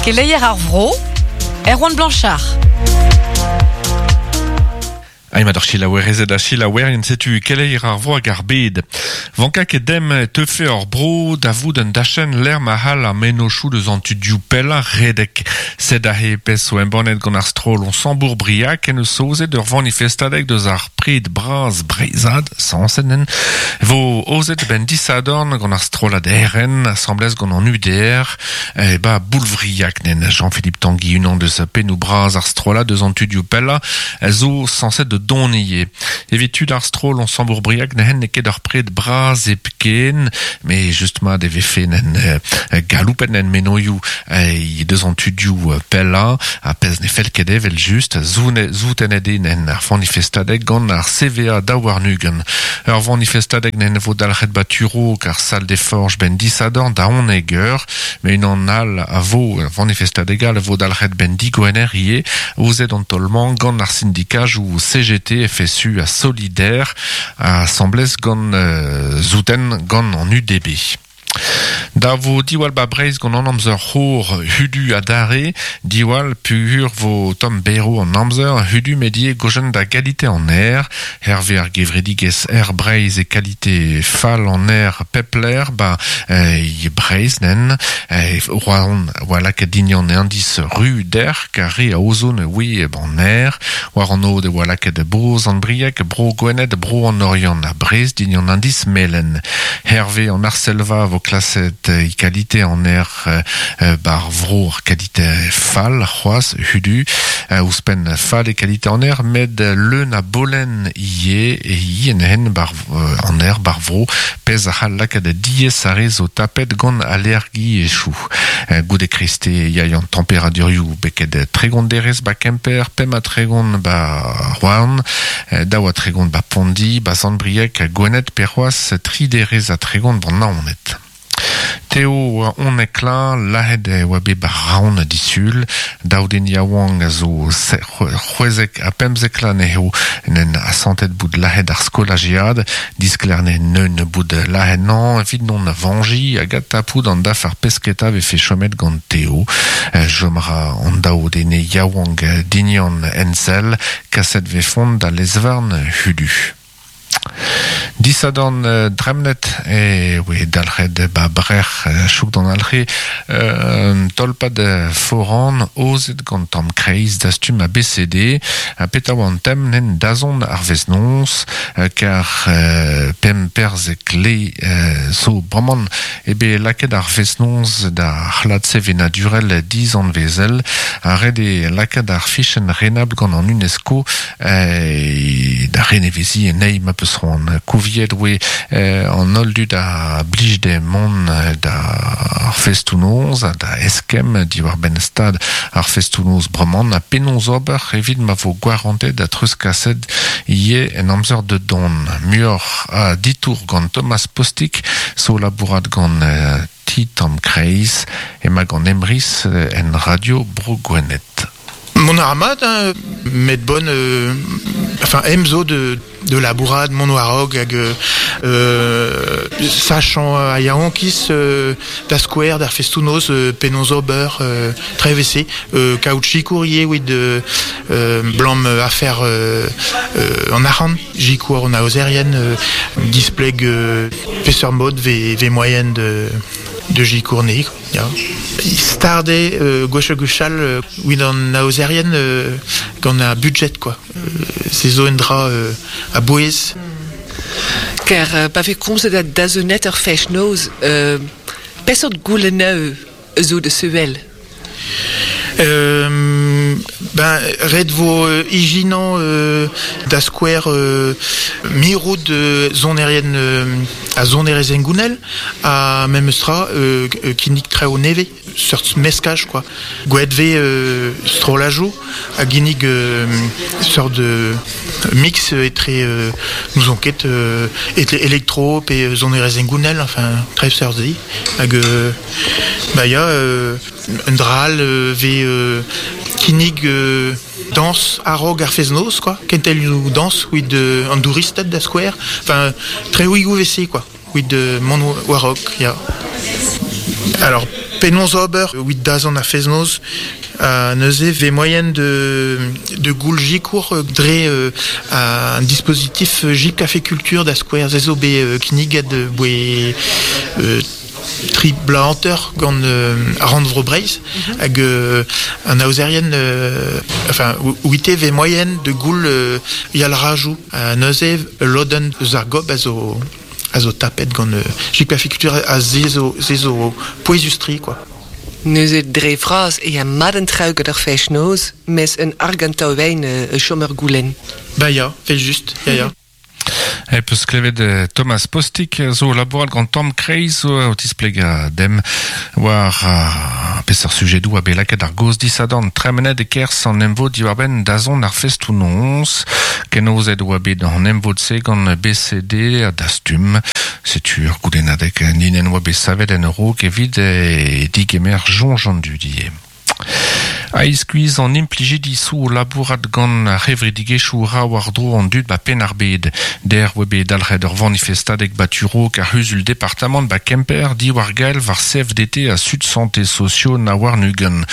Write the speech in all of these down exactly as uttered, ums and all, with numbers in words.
Keleier ar vro, Erwan Blanchard. Aïma d'ar chilaouerezed a chilaouerien setu keleier ar vro hag ar bed. Vanka ket dem teufe ur bro da vout un dachen l'er ma hal ar menochou deus an tudioù pella redek. Sed a he pes o embannet gant ar stroll on sambour briak en eus ozet ur vanifestadek deus ar pred braz breizad, sansenen, vo ozet ben disadorn gant ar strollad R N, assemblez gant an U D R, e ba boulvriak nen Jean-Philippe Tanguy unan deus pennou braz ar strollad deus an tudioù pella, zo sanset de donier. Evit tud ar stroll on sambour briak nehen ne ket ar pred braz epken, mais justement de vefe nen euh, galoupen nen menoioù euh, deus an tudioù pella, a pez ne fel ket evel just, zoune, zouten ede nen ar vanifestadeg gant ar C V A daouarnugen. Ur vanifestadeg nen vo dalc'het baturo kar salle des forges ben disadorn da oneg eur, mais un an al a vo vanifestadeg al vo dalc'het ben digoener ie, ozet an tolman gant ar syndikaj ou C G T F S U a Solidaire a assemblez gant euh, zouten gant an U D B. Da vo diwal ba Breizh gant an amzer c'hor hudu a dare, diwal pugur vo tom bero an amzer hudu medie gojen da galite an aer, Hervé ar gevredigez aer Breizh e kalite fall an aer pepler ba eh, Breizh nen, eh, roan oa lakaet dignan indice ru der, kare a ozone oui ban aer, war an ode oa lakaet broz an briek, bro Gwened, bro an Oriant a Breizh dignan indice melen. Hervé an Arselva vo klaset e kalite an aer euh, bar vro ar kalite fall, c'hoaz, hudu, euh, ouzhpenn fall e kalite an aer, med leun a bolen ie, e ie en hen bar, euh, an aer bar vro, pez a c'hall lakaat diez a rez o tapet gant allergi e chou. Euh, goude kriste yaï an temperadurioù beket tregont derez ba Kemper, pem a tregont ba Rouen, euh, daou a tregont ba Pondi, ba Sant-Brieg, Gwened, pe c'hoaz, tri derez a tregont ban Naoned. Teo on ekla, lahed e oa bet bar raon disul, daouden yaouank a zo c'hwezek a pemzek la neho nen asantet bout lahed ar skolajiad, diskler ne neun bout lahed nan, evit non vanji, hag atapout an daf ar pesketa vefe chomet gant Teo. Jomra an daoudene yaouank dignan ensel, kaset vefont da lezvarn hudu. Disadorn euh, dremnet e oe dalc'het ba brec'h euh, chouk d'an alc'he euh, tolpad foran ozet gant tamm kreiz dastum a B C D a peta oan tem nen dazon ar veznons euh, kar euh, pem perzek le euh, zo bremañ e be lakaet ar veznons da c'hlad sevenadurel diz an vezel a red e lakaet ar fichenn renabl gant an UNESCO euh, da renevezi en ei ma peus c'hoant kouviet oe eh, an holl dud a blij de mont da ar festoù-noz da eskemm diwar ben stad ar festoù-noz bremañ a penaos ober evit ma vo gwarantet da treuzkaset ie en amzer de don. Muioc'h a ditour gant Thomas Postic, zo labourat gant euh, ti tamm kreiz ema gant Emrys en radio Bro Gwened. Mon armad, hein, met bon, euh, enfin, emzo de, de la bourrade, mon warog, hag, euh, sachant a yaonkis, euh, da square, d'ar festoù-noz, euh, penaos ober, euh, trevese, euh, kaout courrier, oui, de, euh, blam affaire, euh, euh, en arc'hant, jikour en aozerien, euh, displeg, euh, peseur mode, ve, ve moyenne de, de jikourne, quoi. Ya. Starde, euh, gwech gwechal, euh, wid an aozerien, euh, gant a budget, quoi. Euh, se zo un dra, euh, a bouez. Ker, euh, pa ve komzet a dazonet ur fech noz, euh, pesort gouleneu zo de seuel? Euh, ben, red vo euh, ijinan euh, da square euh, mirout de zonerien euh, a zonerezen gounel a memestra euh, kinnig treo neve seurt meskaj quoi. Gwelet ve euh, strolajoù a ginnig euh, seurt de mix etre euh, nous enquête euh, etre électro pe zonerezen gounel enfin tre seurt zi hag euh, ba ya euh, un dral euh, ve euh, kinnig euh, danse arog ar feznoz quoi kentel nou danse with euh, an douristed da square enfin tre ouigou vese quoi with euh, mon warok ya. Alors Penaos ober wit dazont ar fest-noz a neuze ve moyen de de goul jikour dre euh, un dispositif J Café Culture da skouer ze zo bet euh, kinniget boe euh, tri bla hanter gant euh, Randvro Breizh hag euh, an aozerien euh, enfin ouite ve moyen de goul euh, yal rajou a neuze lodenn eus ar gob a zo a zo tapet gant euh, J Café Culture a ze zo, ze zo pouezustri quoi. Neuze dre vras e a maden trauget ar fest-noz, mes un argantao wijn uh, chommer goulen. Ba ya, vel just, ya ya. E peus klevet Thomas Postic zo labourat gant Tom Kreiz zo o tisplega dem war uh, peseurt sujedou a bet lakaet ar goz disadorn tremenet e kerz an emvod diwar-benn dazont ar festoù noz kenozet oa bet an emvod-se gant B C D a dastum setu ur goulennadeg ninen oa bet savet en raok evit e digemer soñj an dud ivez. A-iskuizh an implijidi sou labourat gant ar c'hevredigezhioù ra war-dro an dud ba penn ar bed. Der oa bet dalc'het ur vanifestadeg baturo kar c'huzul departamant ba Kemper diwar gael war C F D T a Sud Santé Socio na war nugen.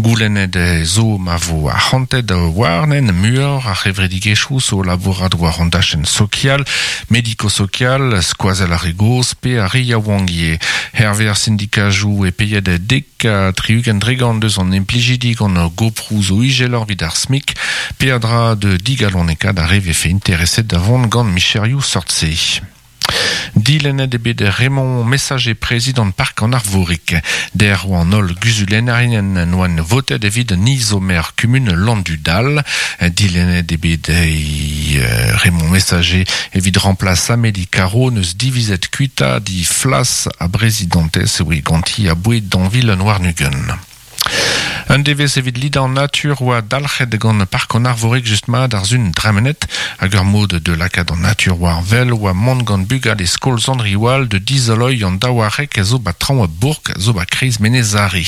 Goulennet zo ma vo arc'hantet warnen muioc'h ar c'hevredigezhioù zo labourat war an dachenn sokial, mediko-sokial, skoazell ar re gozh pe ar re yaouank ivez. Herve ar sindikajoù e peiet dek ha tri-ugent dregant deus an implijidi gant goprou zo ijeloc'h evit ar SMIC, peadra de digalonekaat ar re vefe intereset da vont gant micherioù sort-se. Dilennet eo bet Raymond Messager prezidant Park an Arvorig. Der oa an holl guzulennerien noan votet evit nizomer kumun Landudal. Dilennet eo bet Raymond Messager evit remplaç Amélie Caro neus divizet kuita di flas a prezidantez oe ganti a boued d'anvil Noir-Nugen. Un devez evit lidañ an natur oa dalc'het gant Park an Arvorig just mat ar zun dremenet hag ur mod de lakaat an natur war vel oa mont gant bugale skol Zandriwal de dizoloi an daouarek zo ba traoñ a bourg zo ba kreiz Menezari.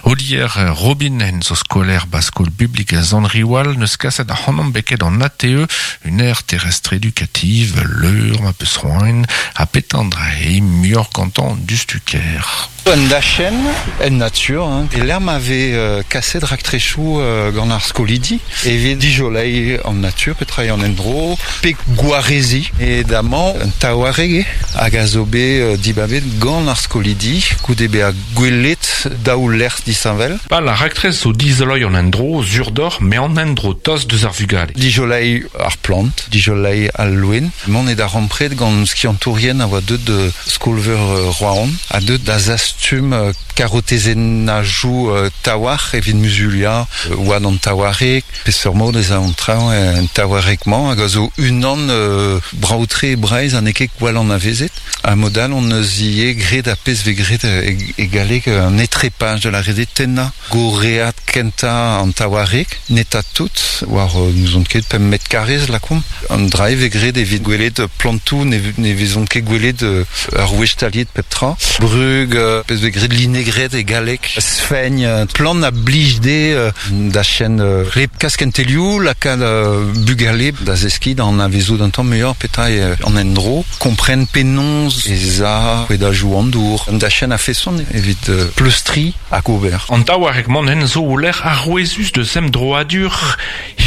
Olier Robin en zo skolaer ba skol publik Zandriwal neus kaset ar c'hanomp beket an A T E, une aire terrestre éducative, leur ma peus roain, a petandre e muioc'h gantañ dustuker. Un dachen, en nature, hein. E l'air m'avait euh, kaset raktrechou euh, gant ar skolidi, evit dijolei en nature, petra en endro, pe gwarezi, e damañ un taouareg hag a zo bet euh, dibabet gant ar skolidi, goude be a gwelet daou lec'h disheñvel. Pa la raktres zo dizoloi an endro, zurdor, me an endro tost deus ar vugale. Dijolei ar plant, dijolei al loen. Mont e da rampret gant skiantourien a oa deut de skolveur euh, Rouen, a deut da zastum euh, karotezennajoù euh, tawar evit muzulia euh, oa an tawarek, peseurt mod ez a an traoñ en tawarek-mañ hag a zo unan euh, braoutre e Breizh an eket gwall an avezet. A modal on eus ivez graet a pezh vez graet e, e galleg un étrépage de la rede tenna goreat kenta an tawarek neta tout war euh, nous on ket pemp mètre karrez lakomp. An dra vez graet evit gwelet plantoù ne, ne vezont ket gwelet euh, ar wech-taliet pep tra. Brug euh, pezh vez graet linegret e galleg sfegn euh, plant a blij de euh, da chen euh, rep kaskentelioù lakaat euh, bugale da zeski da an avezout un tamm muioc'h petra e an endro kompren penaos ez a da jou an dour da chen a feson evit euh, pleustri hag ober. An taouarek mont hen zo o lec'h arouezus de sem droadur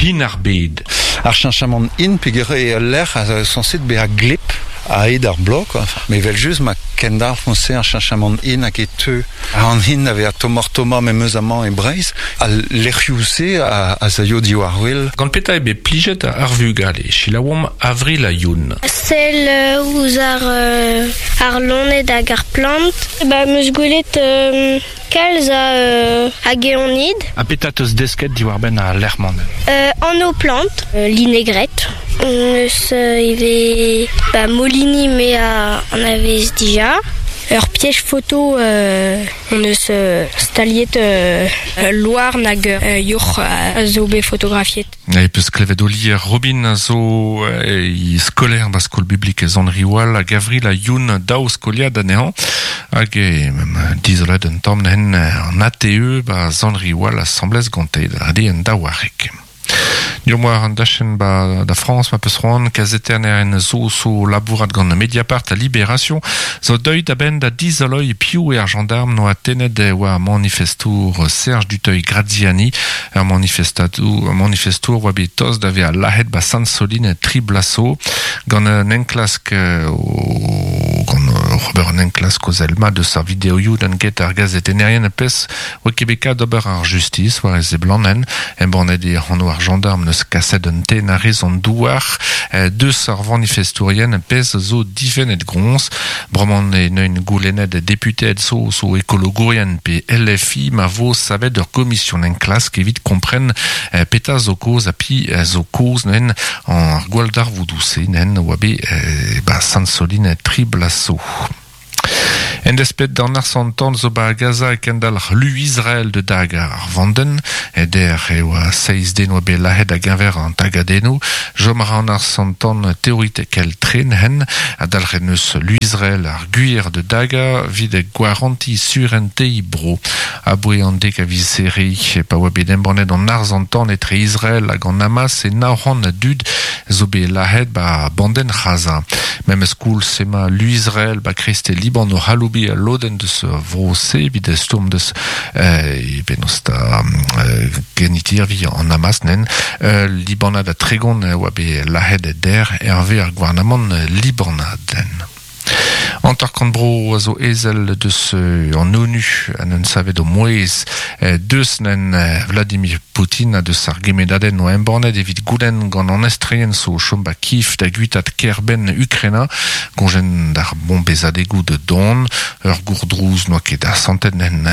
hin ar bed. Ar cheñchamant in peogwir e lec'h a sañset bezañ gleb a ed ar blok, quoi. Mais vel just ma kendalc'h foñse ar cheñchamant in hag e teu an hin ave a tomor toma memeus amañ e Breizh al lec'hioù-se a, a zaio diwar wel. Gant petra eo bet plijet ar vugale, selaouomp Avril a Youn. Sell ouzh ar, euh, ar loened hag ar plant. Ba, meus gwelet euh, kalz a, euh, a geonid. Ha petra teus desket diwar-benn ar lec'h-mañ? Euh, an o plant, euh, linegret. Eus euh, ivez ba, Molini me a an avez dija. Ur piège photo euh, on eus euh, staliet euh, loar nag euh, yourc'h a zo bet fotografiet. E peus klevet Olier Robin a zo e skolaer ba skol publik Zandriwal hag Avril a Youn daou skoliad anezhañ hag e dizolet un tamm n'hen an A T E ba Zandriwal asambles gante da ade un daouarek. Deomp war an dachenn ba da Frañs ma peus c'hoant kazetennerien zo zo labourat gant Mediapart a Libération zo deuet a-benn da dizoloiñ piv eo ar gendarm noa tennet war manifestour Serge Duteuil Graziani ur manifestatour manifestour oa bet tost da vezañ lazhet ba Sainte-Soline tri bloaz zo gant un enklask o gant Robert un enklask o zelma deus ar videoioù d'an get ar gazetennerien pezh oa ket bet kat d'ober ar justice war e seblanen embannet eo anv ar gendarm neus kaset un tenn a-rez an douar deus ar vanifestourien pezh zo difennet groñs bremañ e neun goulennet deputeed zo zo ekologourien pe L F I ma vo savet ur komision enklask evit kompren petra zo kaoz ha pi zo kaoz nen an gwalldarvoudoù-se nen oa bet ba Sainte-Soline tri bloaz zo. En despet d'an arsantan zo ba Gaza e kendalc'h lu Israël de dag ar vanden, eder eo a seiz den oa bet lazhet da geñver an tagadennoù, jom a ra an arsantan teoritekel tren hen, a dalc'het neus lu Israël ar gwir de daga vid gwaranti surentei bro. Aboe an dek a viz serri, pa oa bet embannet an arsantan etre Israël hag an Hamas e nav c'hant a dud zo bet lazhet ba banden Gaza. Memes koulz ema lu Israël ba kreste Liban o c'haloubi a lodenn deus vro-se evit stourm deus euh, penaos da euh, genitirvi an Hamas nen euh, Libanad a tregont oa bet lazhet der hervez ar gouarnamant libanad. Antarkant bro a zo ezel deus an ONU an un savet o mouez deus nen Vladimir Poutine a deus ar gemedadenn o embannet evit goulenn gant an estreien zo chom ba Kiev da guitat kêr-benn Ukraina gonjen d'ar bombezadegoù de don ur gourdrouz noa ket asantet nen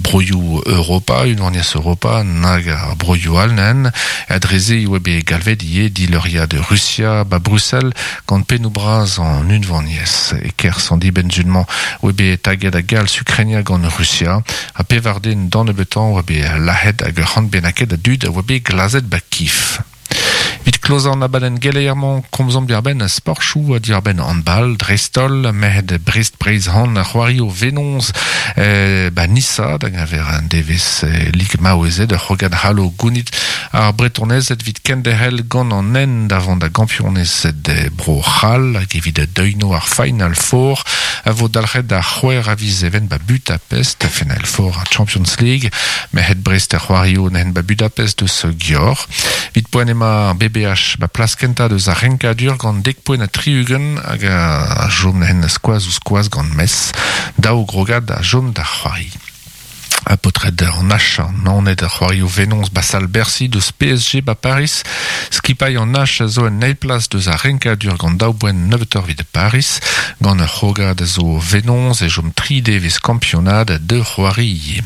broioù Europa unvaniezh Europa nag ar broioù all nen adreze oa bet galvet ivez dileuriad Rusia ba Bruxelles gant pennoù bras an unvaniezh e kerzh an dibenn-zunmañ oa bet taget a galz Ukraina gant Rusia ha pevar den d'an nebeutañ oa bet lazhet hag ur c'hant bennaket a dud a oa bet glazet ba Kiev. Vit klozañ an abadenn geleier-mañ komzomp diàr-benn sportchoù ha diàr-benn handball, dreist-holl, merc'hed Brest-Breizh-Han a c'hoario Venoz eh, ba Nissa da geñver an devezh eh, Lig Maouezed ur c'hrogad c'hallo gounit ar Bretonezed evit kenderc'hel gant an hent da vont da gampionezed bro C'hall hag evit deuino ar Final Four a vo dalc'het da c'hwec'h a viz even ba Budapest Final Four ar Champions League merc'hed Brest a c'hoario nen ba Budapest deus Gior Vit poent ema B B H ba plas kentañ deus ar renkadur gant dek poent ha tri-ugent hag a jom nen skoaz ouzh skoaz gant Metz daou grogad a jom da c'hoari. A paotred an H an Naoned a c'hoario Venoz ba sal Bercy deus P S G ba Paris skipailh an H a zo en eil plas deus ar renkadur gant daou boent nebeutoc'h evit Paris gant ur c'hrogad a zo Venoz e jom tri devezh kampionad de c'hoari ivez.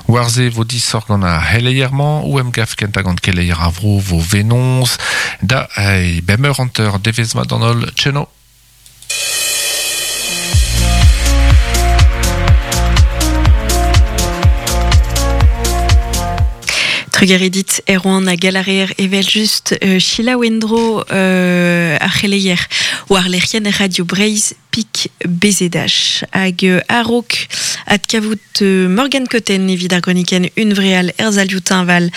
War-se vo disoc'h gant ar c'heleier-mañ ou emgav kentañ gant keleier ar vro vo Venoz da eh, bemp eur hanter devezh mat d'an holl tcheno. Trugaredit Erwan a galarer evel just euh, Sheila Wendro euh, ar c'heleier war lec'hienn Radio Breizh pik B Z H hag euh, a-raok adkavout euh, Morgan Cotten evit ar gronikenn Unvreal Erzalioù Teñval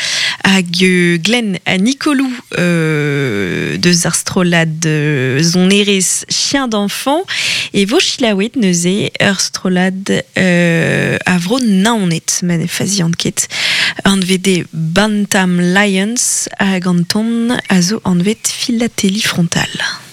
hag euh, Glenn ha Nicolou euh, deus ar strollad euh, sonerezh Chien d'enfant e vo chilaouet neuze ur strollad euh, a vro Naoned ma ne fazian ket anvet Bantam Lions hag an ton a zo anvet Philatélie Frontale.